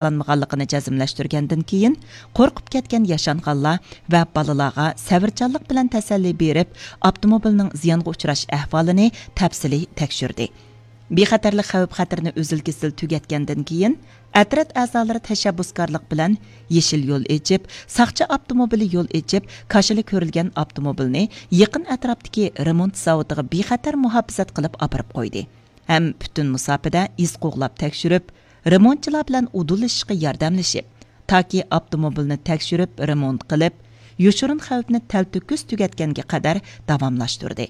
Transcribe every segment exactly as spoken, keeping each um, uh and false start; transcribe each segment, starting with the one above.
يارىلانمىغانلىقىنى جەزملەشتۈرگەندىن كېيىن، قورقۇپ كەتكەن ياشانغانلار ۋە بالىلارغا سەۋرچانلىق بىلەن تەسەللى بېرىپ، ئاپتوموبىلنىڭ زىيانغا ئۇچراش ئەھۋالىنى تەپسىلىي تەكشۈردى. بىخەتەرلىك خەۋپ-خەتىرىنى ئۈزۈل-كېسىل تۈگەتكەندىن كېيىن، ئەترەت ئەزالىرى تەشەببۇسكارلىق بىلەن يېشىل يول ئېچىپ، ساقچى ئاپتوموبىلى يول ئېچىپ، كاشىلا كۆرۈلگەن ئاپتوموبىلنى يېقىن ئەتراپتىكى رېمونت زاۋۇتىغا بىخەتەر مۇھاپىزەت قىلىپ ئاپىرىپ قويدى ھەم پۈتۈن مۇساپىدە ئىز قوغلاپ تەكشۈرۈپ، رېمونتچىلار بىلەن ئۇدۇللىشىشقا ياردەملىشىپ، تاكى ئاپتوموبىلنى تەكشۈرۈپ، رېمونت قىلىپ، يوشۇرۇن خەۋپنى تەلتۆكۈس تۈگەتكەنگە قەدەر داۋاملاشتۇردى.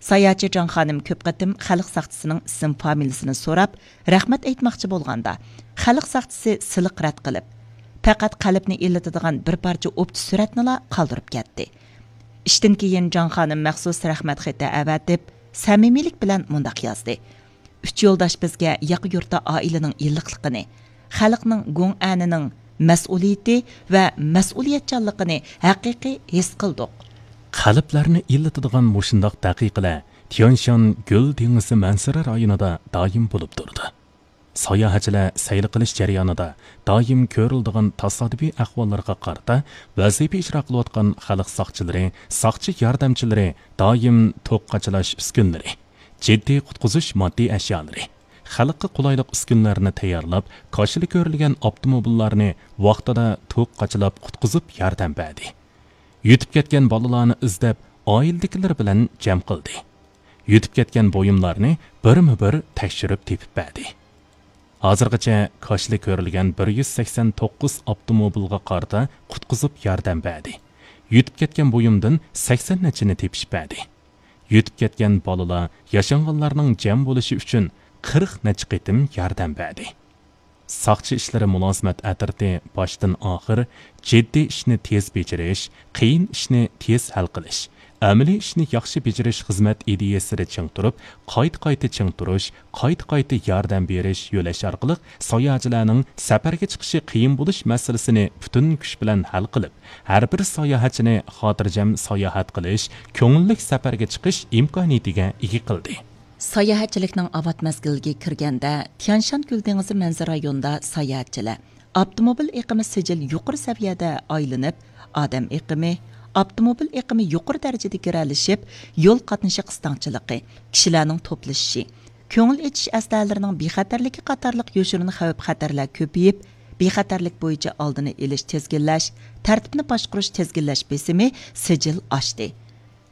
ساياھەتچى جاڭ خانىم كۆپ قېتىم خەلق ساقچىسىنىڭ ئىسىم فامىلىسىنى سوراپ، رەھمەت ئېيتماقچى بولغاندا، خەلق ساقچىسى سىلىق رەت قىلىپ، پەقەت قەلبنى ئىللىتىدىغان بىر پارچە ئوپچە سۈرەتنىلا قالدۇرۇپ كەتتى. ئىشتىن كېيىن جاڭ خانىم مەخسۇس رەھمەت خېتى ئەۋەتىپ، سەمىمىيلىك بىلەن مۇنداق يازدى: ئۈچ يولداش بىزگە ياقا يۇرتتا ئائىلىنىڭ ئىللىقلىقىنى، خەلقنىڭ گۇڭئەنىنىڭ مەسئۇلىيىتى ۋە مەسئۇلىيەتچانلىقىنى ھەقىقىي ھېس قىلدۇق. قەلبلەرنى ئىللىتىدىغان مۇشۇنداق دەقىقىلەر تيانشان گۈل دېڭىزى مەنزىرە رايونىدا دائىم بولۇپ تۇرىدۇ. ساياھەتچىلەر سەيلە قىلىش جەريانىدا دائىم كۆرۈلىدىغان تاسادىپىي ئەھۋاللارغا قارىتا ۋەزىپە ئىجرا قىلىۋاتقان خەلق ساقچىلىرى، ساقچى ياردەمچىلىرى دائىم توك قاچىلاش ئۈسكۈنىلىرى، جىددىي قۇتقۇزۇش ماددىي ئەشيالىرى، خەلققە قولايلىق ئۈسكۈنىلەرنى تەييارلاپ، كاشىلا كۆرۈلگەن ئاپتوموبىللارنى ۋاقتىدا توك قاچىلاپ قۇتقۇزۇپ ياردەم بەردى. يۈتۈپ كەتكەن بالىلارنى ئىزدەپ، ئائىلىدىكىلەر بىلەن جەم قىلدى. يۈتۈپ كەتكەن بۇيۇملارنى بىرمۇ بىر تەكشۈرۈپ تېپىپ بەردى. ھازىرغىچە كاشىلا كۆرۈلگەن بىر يۈز سەكسەن توققۇز ئاپتوموبىلغا قارىتا قۇتقۇزۇپ ياردەم بەردى. يۈتۈپ كەتكەن بۇيۇمدىن سەكسەن نەچچىنى تېپىشىپ بەردى. يۈتۈپ كەتكەن بالىلار ياشانغانلارنىڭ جەم بولۇشى ئۈچۈن قىرىق نەچچە قېتىم ياردەم بەردى. ساقچى ئىشلىرى مۇلازىمەت ئەترىتى باشتىن ئاخىر جىددىي ئىشنى تېز بېجىرىش، قىيىن ئىشنى تېز ھەل قىلىش، ئەمەلىي ئىشنى ياخشى بېجىرىش خىزمەت ئىدىيەسىدە چىڭ تۇرۇپ، قايتا-قايتا چىڭ تۇرۇش، قايتا-قايتا ياردەم بېرىش يۆلەش ئارقىلىق ساياھەتچىلەرنىڭ سەپەرگە چىقىشى قىيىن بولۇش مەسىلىسىنى پۈتۈن كۈچ بىلەن ھەل قىلىپ، ھەر بىر ساياھەتچىنى خاتىرجەم ساياھەت قىلىش، كۆڭۈللۈك سەپەرگە چىقىش ئىمكانىيىتىگە ئىگە قىلدى. ساياھەتچىلىكنىڭ ئاۋات مەزگىلىگە كىرگەندە، تيانشان كۆل دېڭىزى مەنزىرە رايونىدا ساياھەتچىلەر ئاپتوموبىل ئېقىمى سىجىل يۇقىرى سەۋىيەدە ئايلىنىپ، ئادەم ئېقىمى، ئاپتوموبىل ئېقىمى يۇقىرى دەرىجىدە گىرەلىشىپ، يول قاتنىشى قىستاڭچىلىقى، كىشىلەرنىڭ توپلىشىشى، كۆڭۈل ئېچىش ئەسلىھەلىرىنىڭ بىخەتەرلىكى قاتارلىق يوشۇرۇن خەۋپ-خەتەرلەر كۆپىيىپ، بىخەتەرلىك بويىچە ئالدىنى ئېلىش، تىزگىنلەش، تەرتىپنى باشقۇرۇش، تىزگىنلەش بېسىمى سىجىل ئاشتى.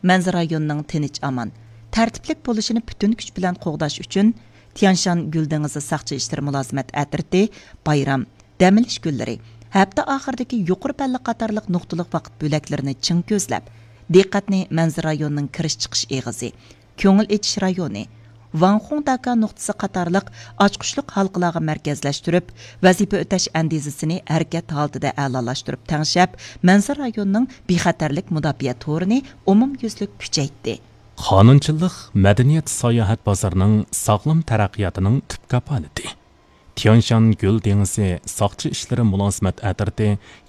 مەنزىرە رايونىنىڭ تىنچ-ئامان، تەرتىپلىك بولۇشىنى پۈتۈن كۈچ بىلەن قوغداش ئۈچۈن، تيانشان گۈل دېڭىزى ساقچى ئىشلىرى مۇلازىمەت ئەترىتى بايرام، دەم ئېلىش كۈنلىرى، ھەپتە ئاخىرىدىكى يۇقىرى پەللە قاتارلىق نۇقتىلىق ۋاقىت بۆلەكلىرىنى چىڭ كۆزلەپ، دىققەتنى مەنزىرە رايونىنىڭ كىرىش-چىقىش ئېغىزى، كۆڭۈل ئېچىش رايونى، ۋاڭخۇڭ داكا نۇقتىسى قاتارلىق ئاچقۇچلۇق ھالقىلارغا مەركەزلەشتۈرۈپ، ۋەزىپە ئۆتەش ئەندىزىسىنى ھەرىكەت ھالىتىدە ئەلالاشتۇرۇپ تەڭشەپ، مەنزىرە رايونىنىڭ بىخەتەرلىك مۇداپىئە تورىنى ئومۇميۈزلۈك كۈچەيتتى. قانۇنچىلىق مەدەنىيەت ساياھەت بازىرىنىڭ ساغلام تەرەققىياتىنىڭ تۈپ كاپالىتى. تيانشان گۈل دېڭىزى ساقچى ئىشلىرى مۇلازىمەت ئەترىتى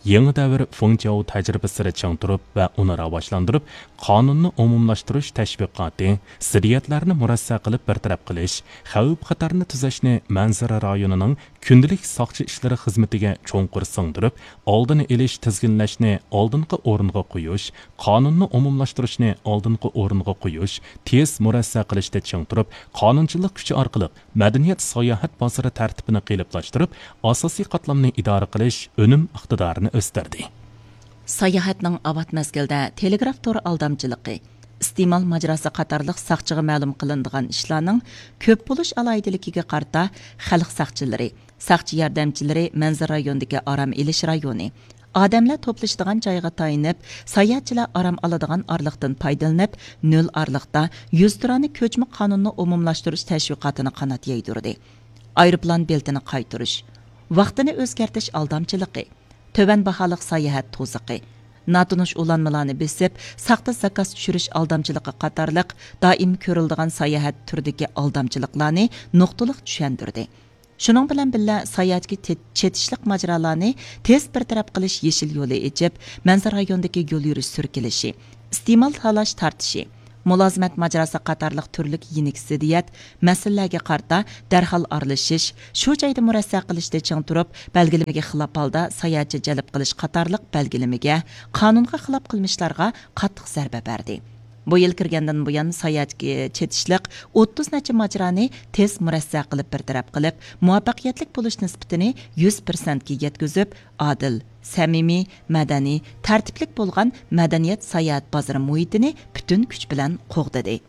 يېڭى دەۋر فېڭجياۋ تەجرىبىسىدە چىڭ تۇرۇپ ۋە ئۇنى راۋاجلاندۇرۇپ، قانۇننى ئومۇملاشتۇرۇش تەشۋىقاتى، زىددىيەتلەرنى مۇرەسسە قىلىپ بىر تەرەپ قىلىش، خەۋپ-خەتەرنى تۈزەشنى مەنزىرە رايونىنىڭ كۈندىلىك ساقچى ئىشلىرى خىزمىتىگە چوڭقۇر سىڭدۈرۈپ، ئالدىنى ئېلىش، تىزگىنلەشنى ئالدىنقى ئورۇنغا قويۇش، قانۇننى ئومۇملاشتۇرۇشنى ئالدىنقى ئورۇنغا قويۇش، تېز مۇرەسسە قىلىشتا چىڭ تۇرۇپ، قانۇنچىلىق كۈچى ئارقىلىق مەدەنىيەت ساياھەت بازىرى تەرتىپىنى قېلىپلاشتۇرۇپ، ئاساسىي قاتلامنى ئىدارە قىلىش ئۈنۈم ئىقتىدارىنى ئۆستۈردى. ساياھەتنىڭ ئاۋات مەزگىلدە تېلېگراف تور ئالدامچىلىقى، ئىستېمال ماجىراسى قاتارلىق ساقچىغا مەلۇم قىلىنىدىغان ئىشلارنىڭ كۆپ بولۇش ئالاھىدىلىكىگە قارىتا، خەلق ساقچىلىرى، ساقچى ياردەمچىلىرى مەنزىرە رايونىدىكى ئارام ئېلىش رايونى، ئادەملەر توپلىشىدىغان جايغا تايىنىپ، ساياھەتچىلەر ئارام ئالىدىغان ئارىلىقتىن پايدىلىنىپ، نۆل ئارىلىقتا يۈزتۇرانە كۆچمە قانۇننى ئومۇملاشتۇرۇش تەشۋىقاتىنى قانات يايدۇردى. ئايروپىلان بېلىتىنى قايتۇرۇش، ۋاقتىنى ئۆزگەرتىش ئالدامچىلىقى، تۆۋەن باھالىق ساياھەت توزىقى، ناتونۇش ئۇلانمىلارنى بېسىپ، ساختا زاكاز چۈشۈرۈش ئالدامچىلىقى قاتارلىق دائىم كۆرۈلىدىغان ساياھەت تۈرىدىكى ئالدامچىلىقلارنى نۇقتىلىق چۈشەندۈردى. شۇنىڭ بىلەن بىللە، ساياھەتكە تېت-، چېتىشلىق ماجىرالارنى تېز بىر تەرەپ قىلىش يېشىل يولى ئېچىپ، مەنزىرە رايونىدىكى يول يۈرۈش سۈركىلىشى، ئىستېمال تالاش تارتىشى، مۇلازىمەت ماجىراسى قاتارلىق تۈرلۈك يېنىك زىددىيەت، مەسىلىلەرگە قارىتا دەرھال ئارىلىشىش، شۇ جايدا مۇرەسسە قىلىشتا چىڭ تۇرۇپ، بەلگىلىمىگە خىلاپ ھالدا ساياھەتچى جەلپ قىلىش قاتارلىق بەلگىلىمىگە، قانۇنغا خىلاپ قىلمىشلارغا قاتتىق زەربە بەردى. بۇ يىل كىرگەندىن بۇيان، ساياھەتكە چېتىشلىق ئوتتۇز نەچچە ماجىرانى تېز مۇرەسسە قىلىپ بىر تەرەپ قىلىپ، مۇۋەپپەقىيەتلىك بولۇش نىسبىتىنى يۈز پىرسەنتكە يەتكۈزۈپ، ئادىل، سەمىمىي، مەدەنىي، تەرتىپلىك بولغان مەدەنىيەت ساياھەت بازىرى مۇھىتىنى پۈتۈن كۈچ بىلەن قوغدىدى.